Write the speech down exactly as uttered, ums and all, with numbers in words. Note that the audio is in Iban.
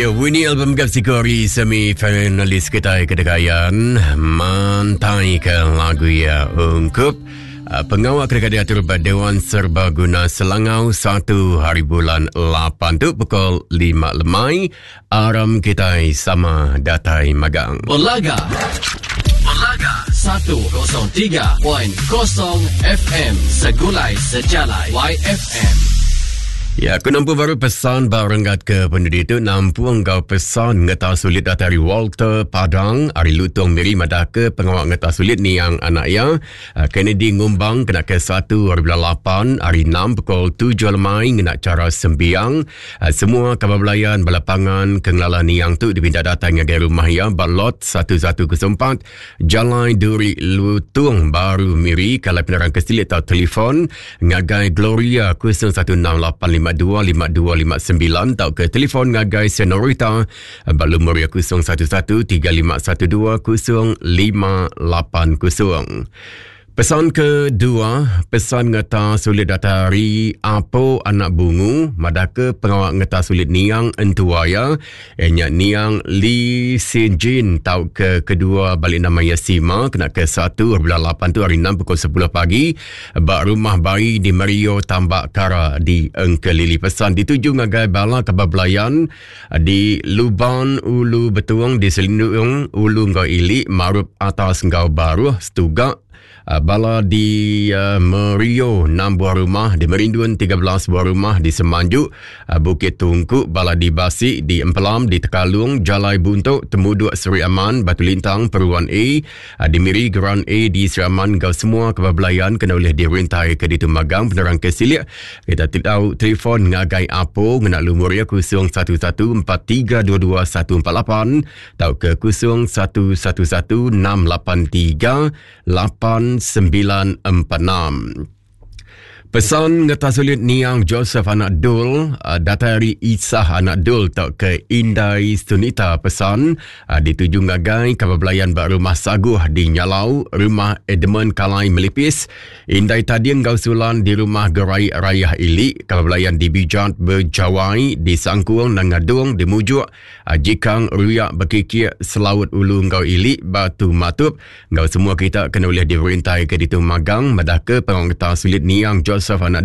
Ya, Winnie album gap sikori semi finalis kita kedekayan mantai ke lagu ya ungkup uh, pengawal kerja diatur pada Dewan Serbaguna Selangau satu hari bulan lapan tu pukul lima lemai aram kita sama datai magang. Belaga. Belaga seratus tiga perpuluhan kosong F M Segulai Sejalai Y F M. Ya, aku nampu baru pesan barenggat ke penduduk itu nampu engkau pesan ngeta sulit dari Walter Padang ari Lutong Miri madah ke pengawal ngeta sulit ni yang anak ya Kennedy Ngumbang kena ke satu hari bulan lapan hari enam pukul tujuh lemai ngena cara sembiang. Semua kabar belayan balapangan kengelala niang tu dipindah datang ngagai rumah ya balot satu satu empat Jalan Duri Lutong Baru Miri. Kalau penerang kesilit atau telefon ngagai Gloria kosong satu enam lapan lima dua lima dua lima sembilan atau ke telefon ngagai Senorita balu Moria kosong satu satu tiga lima satu dua kosong lima lapan kosong. Pesan kedua, pesan ngeta sulit datari apo anak bungu madaka pengawal ngeta sulit niang entuaya enya niang Lee Sin Jin tau ke kedua balik nama Yasima kena ke satu bulan lapan tu hari enam pukul sepuluh pagi bak rumah bayi di Mario Tambak Kara di Engkelili. Pesan dituju ngagai bala kabar belayan di Luban Ulu Betuang di Selindung Ulu Ngau Ili Marup Atas Ngau Baruh Setugak. Uh, bala di uh, Merio enam buah rumah, di Merindun tiga belas buah rumah, di Semanjuk, uh, Bukit Tungku, bala di Basi, di Empelam, di Tekalung, Jalai Buntuk, Temuduk Seri Aman, Batu Lintang, Peruan A, uh, di Miri, Geran A, di Seri Aman, gau semua kebablayan kena oleh dirintai ke di Tumagang, penerang ke Silik. Kita tahu telefon ngagai Apo, ngena lumur ya kosong satu satu empat tiga dua dua satu empat lapan, tau ke kosong satu satu satu enam lapan tiga lapan sembilan empat enam. Pesan ngeta sulit niang Joseph anak Dul, datari Isah anak Dul tak ke Indai Sunita. Pesan dituju ngagai kabar belayan bak rumah Saguh di Nyalau, rumah Edmund Kalai Melipis, Indai Tading Gausulan di rumah Gerai Rayah Ili, kabar belayan di Bijat Berjawai, di Sangkuang Nangadung, di Mujuk, Jikang Ruyak Bekikik Selaut Ulu Ngau Ili, Batu Matup. Ngau semua kita kena boleh dirintai ke ditu magang madah ke pengawal ngeta sulit niang Joseph anak